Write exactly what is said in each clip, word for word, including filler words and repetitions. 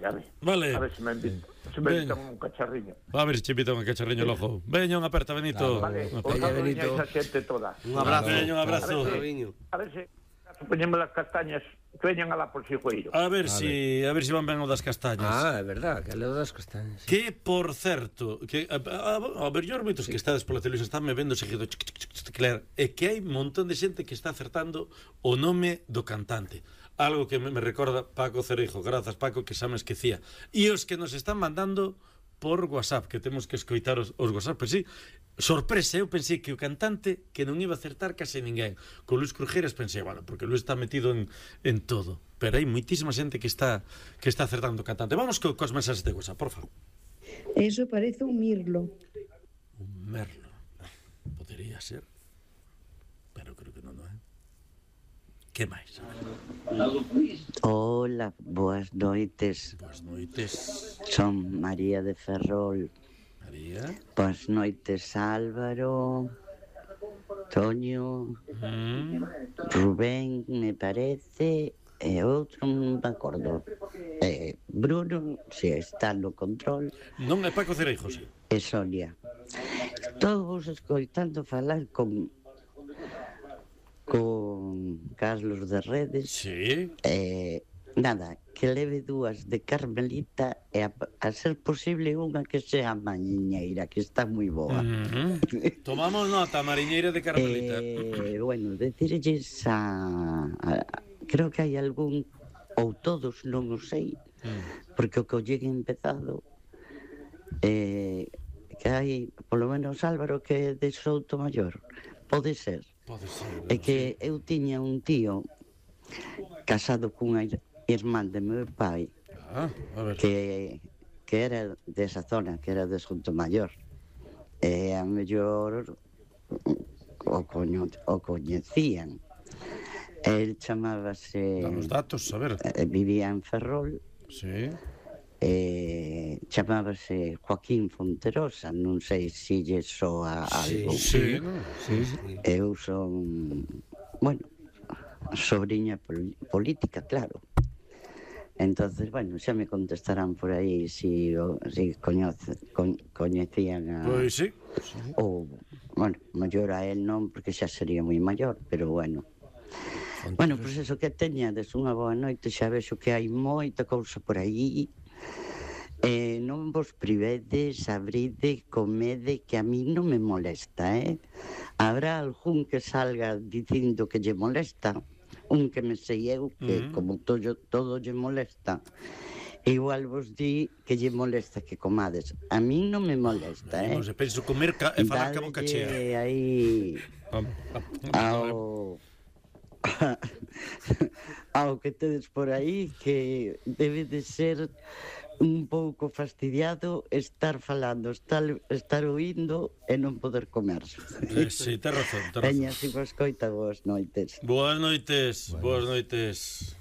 a ver. Vale. A ver se me invitan, se me invitan un cacharriño. A ver se che invitan un cacharriño logo. Veña, unha aperta, Benito. Vale, Unha os aperta. saludos a esa xente toda. Un abrazo. Veña, un abrazo. A ver se poñemos as castañas que veñan alá por Xigueiro. A ver si, a ver si van ben o das castañas. Ah, é verdad, que é o das castañas. Que, por certo, que a, a, a ver, yo moitos que estades pola televisión están me vendo seguido, chic, chic, chic, chic, claro, é que hai un montón de xente que está acertando o nome do cantante. Algo que me, me recorda Paco Cereijo. Grazas, Paco, que xa me esquecía. E os que nos están mandando por WhatsApp, que temos que escoitar os, os WhatsApp, pero sí, sorpresa, eu pensei que o cantante que non iba a acertar case ninguén. Con Luis Crujeras pensei, bueno, porque Luis está metido en, en todo, pero hai moitísima xente que está que está acertando o cantante. Vamos co, cos mensaxes de WhatsApp, por favor. Eso parece un mirlo. Un merlo. Podería ser, pero creo que non, non é. Que máis? Hola, boas noites. Boas noites. Son María de Ferrol. María. Boas noites, Álvaro, Toño, Mm. Rubén, me parece, e outro non me acordo. Eh, Bruno, se está no control. Non é Paco Cereijo, sí. E Sonia. Estou vos escoitando falar con con Carlos de Redes. Sí. Eh, nada, que leve dúas de Carmelita e a, a ser posible unha que sea mañiñeira, que está moi boa. Mm-hmm. Tomamos nota, mariñeira de Carmelita. Eh, bueno, decirlles a, a... Creo que hai algún, ou todos, non o sei, mm. porque o que o llegue empezado, eh, que hai, polo menos Álvaro, que é de Souto Maior. Pode ser. Pode ser. É que eu tiña un tío casado cunha irmán de meu pai, ah, a ver. que, que era desa zona, que era de Souto Maior. E a mellor o, coño, o coñecían. El chamábase... Damos datos, a ver. Eh, vivía en Ferrol. Sí. Eh, chamábase Joaquín Fonterosa, non sei se lle soa algo. Sí, no, sí, sí. Eu son, bueno, sobrinha pol- política, claro. Entonces, bueno, xa me contestarán por aí si, o, si coñece, co, coñecían a... Pois sí. Ou, bueno, maior a él non, porque xa sería moi maior, pero bueno. Bueno, pois pues eso, que teñades unha boa noite, xa vexo que hai moita cousa por aí. Eh, non vos privedes, abride, comede, que a mí non me molesta, eh? Habrá algún que salga dicindo que lle molesta, un que me sei eu, que mm. como todo, todo lle molesta, igual vos di que lle molesta que comades. A mí non me molesta, eh? Non se penso comer ca e falar ca boca chea. Dadlle aí ao... ao que tedes por aí, que debe de ser un pouco fastidiado estar falando, estar, estar oindo e non poder comer. Eh, sí, ten razón, ten razón. Veña, si vos coita, boas noites. Boas noites, bueno. boas noites.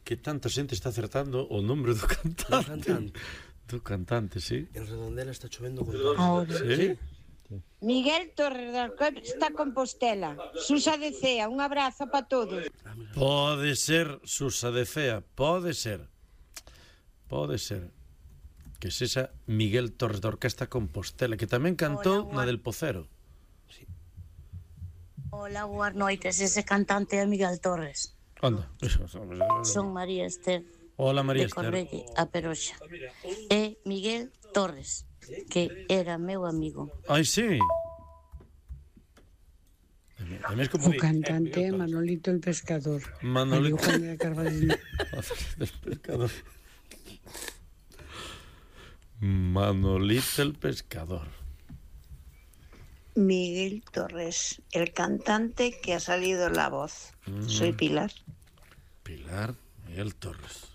Que tanta xente está acertando o nombre do cantante. Do cantante. Do cantante, sí. En Redondela está chovendo con Ahora. Sí. Miguel Torres da Alcoy está Compostela. Susa de Cea, un abrazo para todos. Pode ser Susa de Cea, pode ser. Pode ser que sexa Miguel Torres da Orquesta Compostela, que tamén cantou Hola, na del Pocero. Sí. Hola, boas noites, ese cantante é Miguel Torres. Anda. Son María Esther. Hola, María de Esther. Correlle, a Peroxa. É Miguel Torres, que era meu amigo. Ai, sí. O cantante é Manolito el Pescador. Manolito el Pescador. Manolito el Pescador. Miguel Torres, el cantante que ha salido en La Voz. Mm. Soy Pilar. Pilar, Miguel Torres.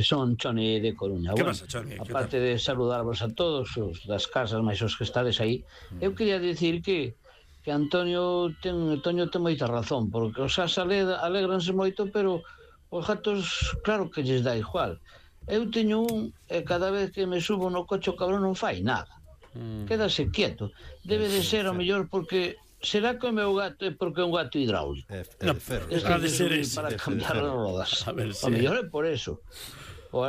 Son Choni de Coruña. Que bueno, pasa, Choni? Aparte de saludarvos a todos os das casas máis os que estades aí, mm. eu quería dicir que que Antonio ten, Antonio ten moita razón, porque os as alegranse moito, pero os gatos claro que lles dá igual. Eu teño un e cada vez que me subo no coche o cabrón non fai nada. Mm. Quédase quieto. Debe de ser o mellor porque será que o meu gato é porque é un gato hidráulico. É, é, no, é de ser ese, para cambiar as rodas. A ver, o mellor é por eso. O